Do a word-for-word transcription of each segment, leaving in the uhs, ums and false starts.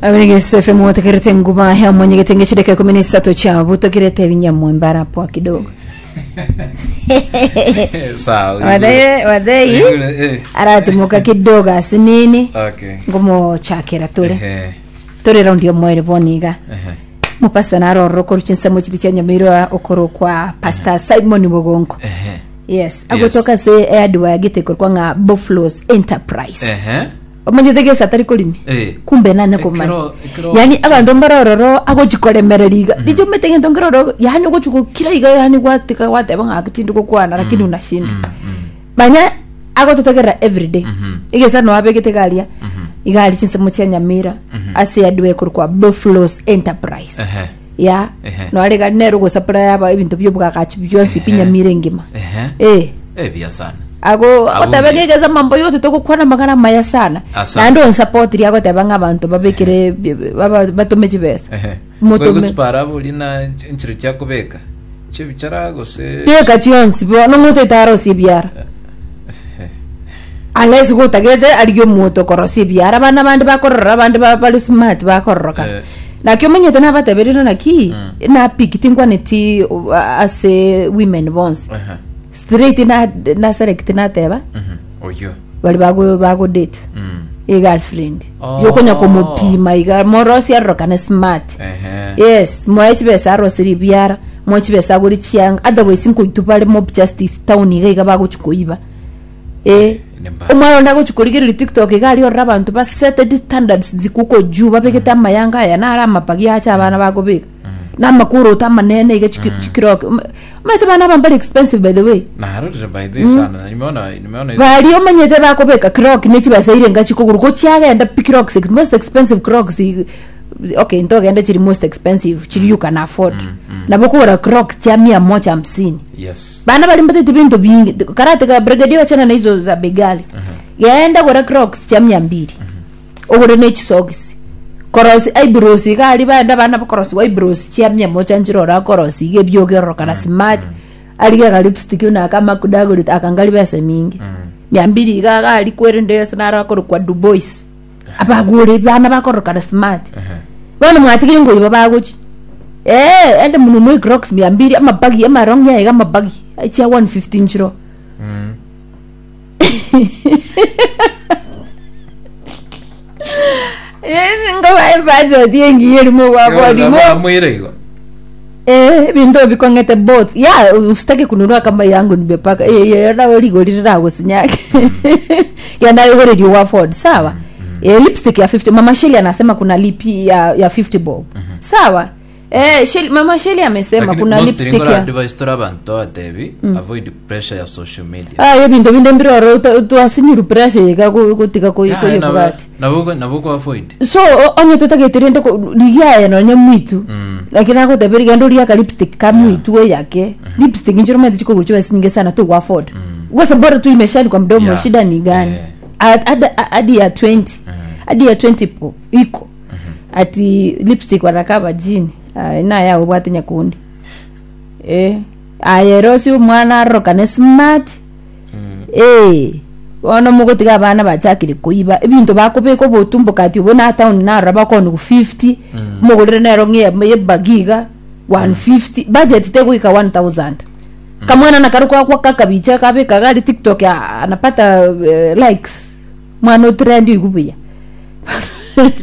Abirigesefe muotekerete nguba ya mwenyegete ngechideka ikumi na isato cha butokirete ebinyamwe mbarapwa kidogo. Sawa. Wadai wadai Eh. aratimoka kidogo asinini Okay. ngomochakera tore Ehe. tore raundi omoere boniga Ehe. mupasta narororo koru chinsemo chiri chia nyamirwa okoro kwa Pastor Simon Mugongo. Ehe. Yes, agotoka se eadiwa gite korwa ng'a Buffaloes Enterprise. Ehe. Omanyete gesa atari korimi. Eh. Kumbe nane komanya. Ekero- ekero- Yani abanto mbarororo agochikoremerera iga richo omete gento nkeroro yani ogochigokira iga yani gwatika gwateba ng'a tindi gokwana lakini unashinda manya agototegerera everyday egesa no abegete garia igari chinsemo chia nyamira ase adwe korwa Buffaloes Enterprise. Ehe. Ya. Ehe. No arega nero gosupply aba ebinto byobwagachi byonsi pi nyamira engima. Ehe. Eh. Eh, bia sana. Ago agoteba Abunge. ngegeza mambo yote togokwana magana maya sana. Asante. Naende onsupport ria agoteba ng'a abanto babekere baba- batome chibesa. Ehe. Motome. Gosipara buri na nchiro chia kubeka. Chibichara gose. Beka chionsi bo nong'ote arosie biara unless gotagete arigie omoto korosia ebiara abana bande bakorora abande ba- bari smart bakororoka. Eh. Naki omanyete nabateberire naki napiki tinkwaneti uh, ase women bonsi. Ehe. Straight na na select nateba Mhm. Oyo. bari bago bago date Mm. e girlfriend Oh. yokonya komopima iga morosi arorokane smart. Ehe. Yes, moe chibesa arosire ebiara moe chibesa agore chianga otherwise nkoitu bare mob justice town iga iga bagochi koiba eh. Ni mbaya. Omwana onde agochi korigereria TikTok iga aria orora abanto baseted standards zikuko juu babegete amayanga aya naro amapagi acha abana bagobeka na amakuruta amanene iga chiki- chikiroke omanyete bana aba mbari expensive, by the way. Narorire by the way sana. Nimeona nimeona hizo. Bari omanyete bakobeka croc nechibesa irenga chikoguru gochiagenda pi crocs most expensive crocs i- okay ntogenda chiri most expensive chiri you can afford nabo kogora croc chia mia moja hamsini. Yes. Bana bari mbatete bintu bingi karate ka brigadier wachana na hizo za begali genda gora crocs chia mia mbili ogore ne chisogisi korosi eyebrows iga ari baenda bana bakorosi eyebrows chia mia moja nchirora korosi iga ebyogerorokana smart arige ka lipstick una kama kudaguri akangali besa mingi mia mbili iga gari kwerende yose nara kwa Dubois abagure bana bakorokana smart. Ehe. Bono mwatigire ngoiba bagochi eh ende mununue crocs mia mbili amabagi amarong yaiga amabagi chia one fifty nchiro. Mm. Ngoba ebudget yengiye rimo gwakwarimo. Mwire igo. Eh, bintu bikongete both ya usitaki kununua kama yangu nimepaka eh eh na rigori riragusinyake yanayogorerio wa Ford sawa eh, lipstick ya fifty. Mama Shelly anasema kuna lipi ya ya fifty bob sawa eh Shelly, Mama Shelly amesema Lakini kuna most lipstick ringora ya advice tora abantu atebi avoid pressure ya social media. Ah, ye bintu binde mbiroro twasinyuru pressure yega gutika koyebugati. Nabo nabo ko avoid. So o- onye tutagetere ndoko rigiaya nonya mwitu lakini agoteberi gendo ria ka lipstick ka mwitu we yake lipstick njiro mezi chiko kuchiwa sinyinge sana tu wa afford kwa bora tu imeshani kwa mdomo. Yeah. Shida ni gani? Yeah. Ad- ad- hadi ya twenty hadi ya twenty po iko ati lipstick warakaba jini na yawo bwate nyakundi eh ayerosi omwana arorokane smart eh bono mogotiga abana bachakire koiba ebinto bakobeka obotumbo kati obo na town narora bakoni ku fifty mogorere nero ng'e yebagiga one fifty budget tegoika one thousand kamwana nakaro kwakwa kakabicha kabeka gari TikTok ya, anapata uh, likes mwana otrend igubuya.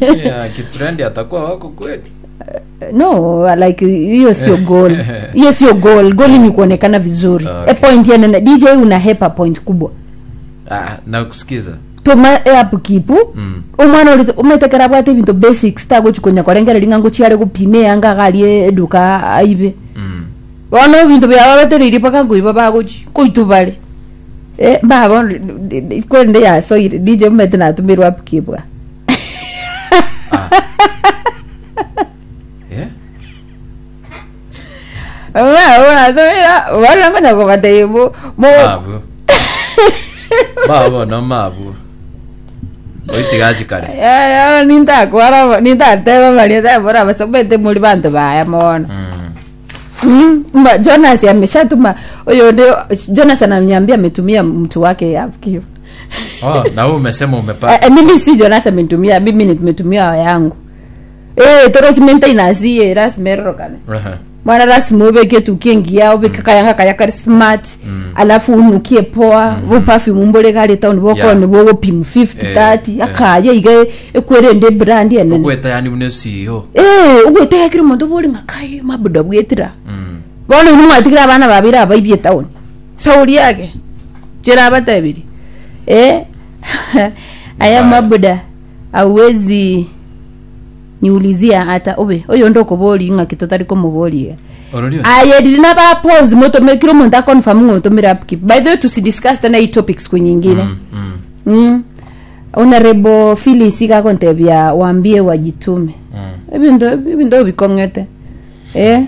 Yeah, kitrend atakuwa wako kweli. No, like hiyo sio goal, hiyo sio goal. Goal ni kuonekana vizuri. Okay. A point ya nene D J unahepa point kubwa. Ah, na kusikiza. Toma app kipu Mm. omwana ori ometekera bwate ebinto basics tagochikonya korengereria ng'a ngochiare gopima eyanga agarie eduka aibe. Mm. Bono ebinto biaba batereirie mpaka nkoiba bagochi koitu bare eh babo kwerende yasoire D J omete natumirwa app kibwa. Ah. Yeah. Natumira bono nkonya kobatebia mo Mabu. Mabu no mabu. Oitigachi kare. Ya, nintakwara nintateba maria tabora basomete muri bantu baya mono. Mm. Mm, mba Jonas ameshatuma huyo ndio Jonas ananiambia ametumia mtu wake Upkeep. Oh, na wewe umesema umepata. Eh, mimi si Jonas amenitumia, mimi nimetumia yangu. Eh, torochi maintenance ye rasima erorokane. Aha. Mwana rasima obeke tuki engiya, obeke kayanga kaya kari smart, alafu unukie poa, bo perfume mbore gari town boko Yeah. ni bogo pim fifty Eh, thirty eh. akaya iga ekwerende brand enene. Ogweta yani buna C E O. Eh, ogwetega kiri omonto bori ng'akai mabuda bwetira. Mm. Bono inwe mwatigire abana babere abaibie town sauri yake chera abatebiri eh aya. Mbaya. Mabuda auwezi niulizia hata ube oyo ndo kobori ng'aki totari komobori. Ororio. Aye, riri na ba pause motomekire omonto aconfirm ng'otomire upkeep. By the way, tusidiscuss tena hii topics kunyingine. Mm. Mm. mm. Honorable Phyllis ikakontebia waambie wajitume. Mm. Ebinto ebinto bikong'ete eh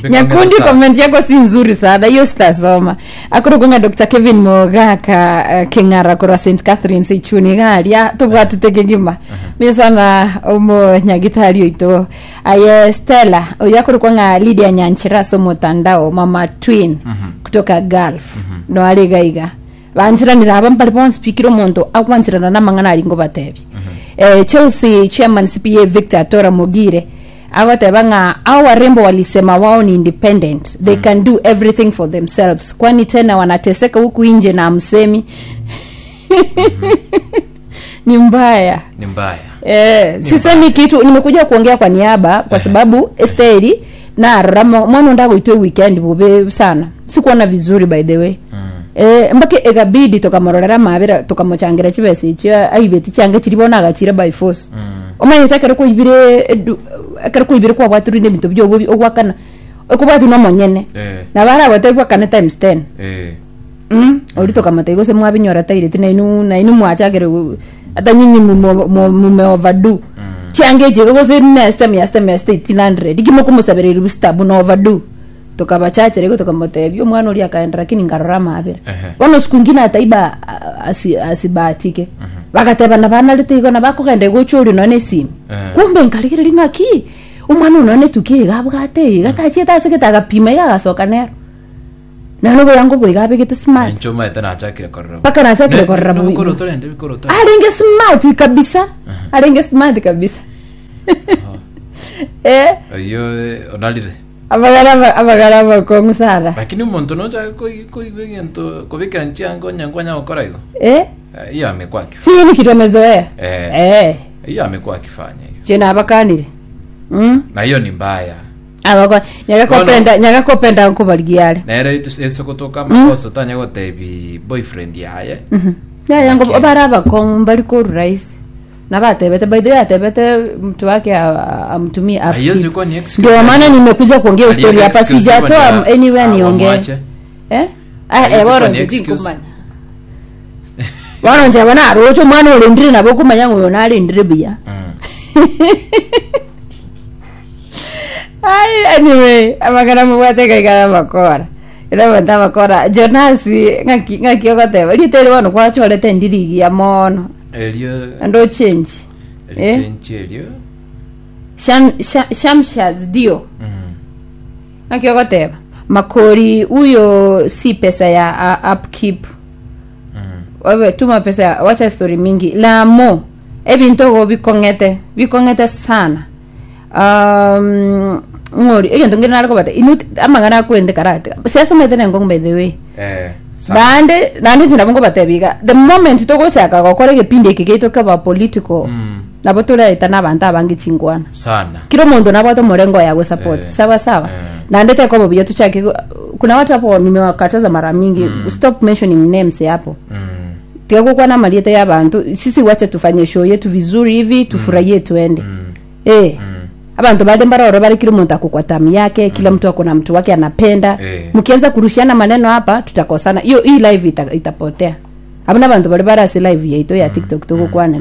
Nyakundi, comment yako si nzuri sana, hiyo sitasoma. Akorokonga Doctor Kevin Mogaka uh, Keng'ara korwa Saint Catherine Seichuni garia tobwatete kegima mi sana omo nyagitari oito. Aye Stella oyo akorokwa Lydia Nyanchira so mutandao mama twin kutoka Gulf no arigaiga banchiranira aba mbari bonspikire omonto akwanchirana namang'ana aringo batebi. eh, Chelsea chairman C P A Victor Tora Mogire agoteba ng'a au warembo walisema wao ni independent, they can do everything for themselves, kwani tena wanateseka huku nje na msemi ni mbaya. Ni mbaya. Eh, sisemi kitu, nimekuja kuongea kwa niaba kwa sababu Esteri na ramo mwana ndagoitwe weekend bube sana, sikuona vizuri by the way. mm. Eh, mbake ekabidi tukamororera mabira tukamuchangira chibesa ichio aibeti change chiribona agachira by force. mm. Omanyete ekero koibire edu- ekero koibire kwabwatirwe ebinto biobo ogwakana okobwati nomonyene. Eh. Na barabwate gwakana times ten. Eh. mm ori tukamata gose mwabinyora taireti nainu nainu mwachagere ata nyinyi mume overdo change chiko gose mesta miasta miasta eighteen hundred ikimo kumusabereri bustabu na overdo tukabachachere go tukamutebia omwana ori akaenda lakini ngarora mabira. Ehe. Bono siku ingine ataiba a- asi asibahatike bagateba na banarete igo na bakogenda igochori none simu. Eh. Kumbe nkarigiriri ng'aki omwana ono netuki iga abwate iga tachiete ase gete agapima iga agasoka nero nano boyango boiga abegete smart. Encho maete nachakire korora. Mpaka nachakire korora bo. bo- Bikoroto rende bikoroto. Arenge smart kabisa, arenge smart kabisa eh. Oyo onalire. Abagara abagara abakong'u sana. Lakini omonto nochaka koigwa egento kobikera nchiango nyankwa gokora igo. Eh. Eh, hiyo amekuwa akifanya. Si ni kitu amezoea. Eh. Eh. Hiyo amekuwa akifanya hiyo. Chena abakanire mm Na hiyo ni mbaya. Abako nyagakopenda nyagakopenda nkubarigiare. Nere esogotoka makosa tanya gotebi boyfriend yaye. Nyayango. Okay. Bara abakong'u mbari koruraisi nabatebete, by the way atebete mtu wake a- a- amtumie Haiwezi upkeep. kuwa ni excuse. Ndio maana nimekuja kuongea Aliweka story hapa. excuse Sijatoa hivyo ndio, anywhere ah, niongee. wamwache. Eh ah. Haiwezi Eh kuwa boro ni nje excuse. tinkumanya bono nje bona arocho omwana orendire nabo kumanya ng'oyo narendire buya. Mm. Ai, anyway, amagana mubwate kaikara makora ira banta makora Jonas ng'aki ng'aki ogoteba ritere bono kwachorete ndirigia mono. Erio Ando change eh? Erichenchi erio. Sham, sham, shamshas dio. Mm. Ng'aki ogoteba makori huyo si pesa ya uh, upkeep. Mm. Wewe tuma pesa ya- wacha story mingi lamo ebinto ogo bikong'ete bikong'ete sana. um ng'ori egento ngere narikobata inu amang'ana akwende karate siasomete nengong by the way. Eh. Sawa. Bande nande nabo ngobatebiga the moment togochaka gokora egepindi eke geito keba political. Mm. Nabo turaeta na abanto abange chingwana. Sana. Kila mundu nabwate omurengo yago support. Eh. Sawa sawa. Eh. Na ndete kwa buya tuchake kuna watu hapo nimewakataza mara mingi, stop mentioning names hapo. Mm. Tiga kukwana malieta ya bantu, sisi wache tufanye show yetu vizuri hivi tufurahie tuende. Mm. Eh. Mm. Abantu bade mbaroro bari kila mtu akukwa tamu yake, kila mtu ako na mtu wake anapenda. Eh. Mkianza kurushiana maneno hapa tutakosana, hiyo hii live ita, itapotea abana bantu bari barasi live yaito ya TikTok tugukwana.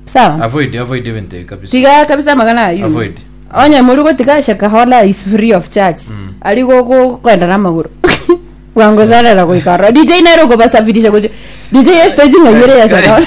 Sawa. Avoid avoid event kabisa. Tiga kabisa magana ayu. Avoid. Onye muri tiga Shakahola is free of charge. Mm. Ari goko kwenda na maguru bwango sana na kuikara D J nairo kubasafirisha kucho D J stage ngayere ya Shakahola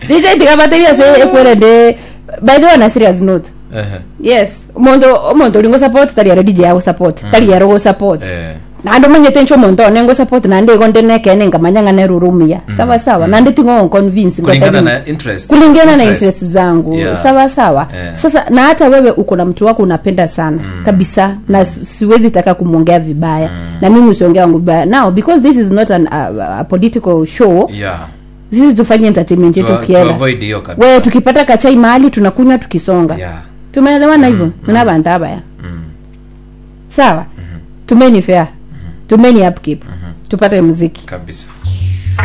D J tiga bateria se ekwerende. By the way, on a serious note, Ehe. yes, omonto omonto oringo support tari aro D J ago support tari aro go support. Eh. Nande omanyete inche omonto one ngosupport, nande igo nde nekene nkamanya ng'a nere ore omuya, sawa sawa, nande tingo convince. Kulingana na interest. Kulingana na Interest. interest zangu. Yeah. Sawa sawa. Yeah. Sasa na hata wewe uko na mtu wako unapenda sana kabisa, na si- siwezi taka kumwongea vibaya, na mimi usiongea wangu vibaya. Now, because this is not an, uh, a political show, Yeah. sisi tufanye entertainment yetu To, to kiela. avoid hiyo kabisa. Wewe, tukipata kachai mahali tunakunywa tukisonga. Yeah. Tumeelewana hivyo? Mm. Nabantu abaya, sawa. Tumeni fair, tumeni upkeep, tupate muziki. Kabisa.